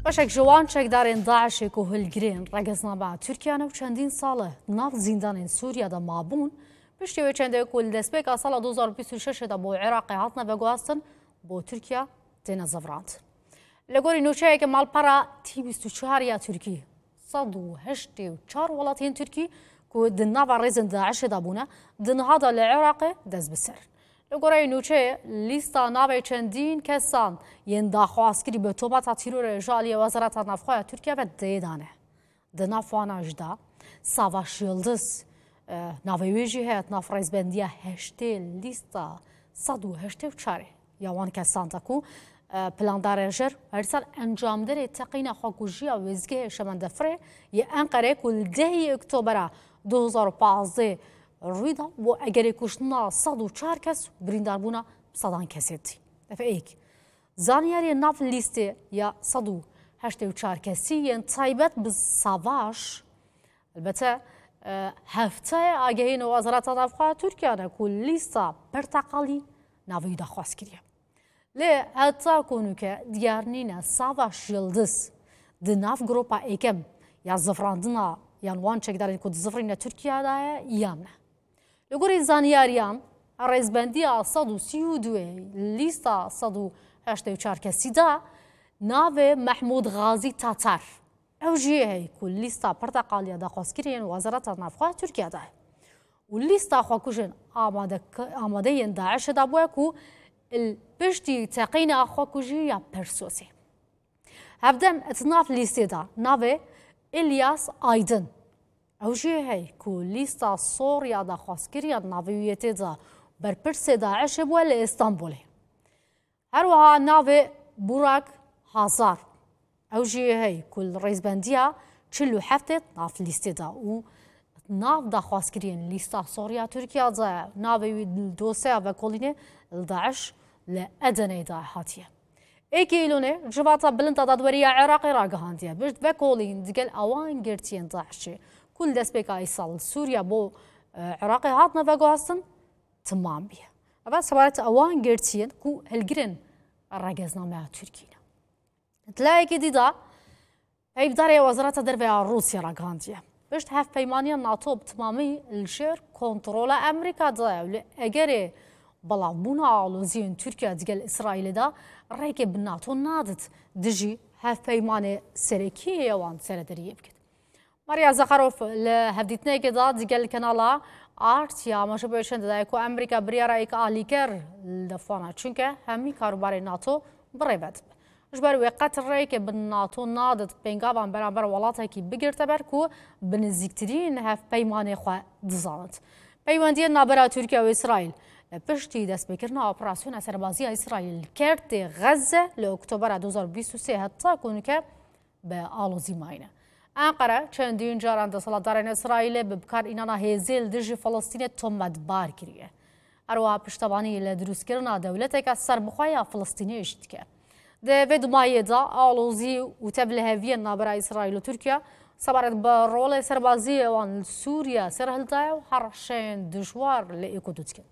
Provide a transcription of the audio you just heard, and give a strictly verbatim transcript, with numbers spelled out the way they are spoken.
Beşek ji wan çekdarên DAIŞê ku hilgirên regeznameya Tirkiye ne û çendîn sal e di nav zîndanên Sûriye de mabûn, piştî wê çendê ku li destpêka sala du hezar û bîst û şeş de bo Iraqê hatine veguhastin, bo Tirkiye têne zivirandin. Li gorî nûçeyeke malpera T bîst û çar ya Tirkî, sed û heştê û çar welatiyên Tirkî ku di nava rêzên DAIŞê de bûne, di niha de li Iraqê dest bi ser in. Li goreyê nûçeyê, lîsta navê çendîn kesan yên daxwazkirî bi tometa tîrorê ji aliyê Wezareta Navxwe ya Tirkiye ve tê de ne. Di nav wana jî de Savaş Yildiz, e, navê wê jî heye, di nav rêzbendiya heştê lîsta sed û heştê û çarê ya wan kesan de ku, e, plandarê jer, herî ser encamderê teqîna xwekujî ya wêzgehê Şemendefirê yê Enqerê ku li dehê Oktobera du hezar û pazdeh rûyda bo egerê kuştina sed û çar kes û birîndarbûna bi sedan kesê dî. Ev êk. Zanyariyên nav lîstê ya sed û heştê û çar kesî yên taybet bi Savaş, elbete, e, hefteyê agehî nû Wezareta Navxwe ya Tirkiye ne ku lîsta perteqalî navê wî daxwaz kiriye. Lê heta ku nûke diyar nîne Savaş Yildiz di nav gropa êkem ya zivirandina yan wan çekdarên ku dizivirîne Tirkiye de ye yan ne. Li gorî zanyariyan, rêzbendiya sed û sî û du lîsta sed û heştê û çar kesî de navê Mehmûd Xazî Tatar, ew jî heye ku lîsta perteqalî ya daxwazkiriyên Wezareta Navxwe ya Tirkiye de ye. Û lîsta xwekujên amade-, amadeyên DAIŞê de bûye ku li piştî teqîna xwekujî ya Persosê. Hevdem di nav lîstê de navê Îlyas Aydin, ew jî heye ku lîsta sor ya daxwazkiriyên navê wî yê tê de berpirsê DAIŞê bûye li Îstanbulê. Her wiha navê Burak Hazar, ew jî heye ku li rêzbendiya çil û heftê di nav lîstê de û di nav daxwazkiriyên lîsta sor ya Tirkiye de navê wî li dosyeya vekolînê li DAIŞ li Edeneyê de hatiye. Êkê Îlonê, Civata Bilind a Dadwerî ya Iraqê ragihandiye, bi vekolîn digel awan girtiyên DAIŞê ku li destpêka îsal li Sûriye bo, e, Iraqê hatine veguhastin, timam bûye. Ev sebaret awan girtiyên ku hilgirên regeznameya Tirkî ne. Di layekî dî de, peyvdarê Wezareta Derve ya Rûsya ragihandiye, pişt hevpeymaniya NATO bi timamî li jêr kontrola Amerîka de ye û li egerê belavbûna aloziyên Tirkiye digel Îsraîlê de rêkê bi NATO nadit dijî hevpeymanê serekî yê wan serederiyê bikit. Maria Zakharov li hevdîtinekê de digel kanala Art ya Maşa Bêşen de daye ku Amerîka biryara êk alîker li def wana, çunke hemî karûbarê NATO bi rê ve dibe. Ji ber wê qet rêkê bi NATO nadit pêngavan beramber welatekî bigirte ber ku bi nizîktirîn hevpeymanê xwe dizanit. Peywendiyên navbera Tirkiye û Îsraîl li piştî destpêkirina operasyona serbazî ya Îsraîl li Kertê Xezze li Oktobera du hezar û bîst û sê heta ku nûke bi alozî mayîne. Enqere çendîn caran desthilatdarên Îsraîlê bi bikarînana hêzê li dijî Filistînê tometbar kiriye. Her wiha piştevanî li dirustkirina dewleteke serbixwe ya Filistînê jî dike. Di vê dimayê de alozî û tevliheviyên navbera Îsraîl û Tirkiye sebaret bi rolê serbazî wan li Sûriye serhildaye û herşên dijwar li êk û du dikin.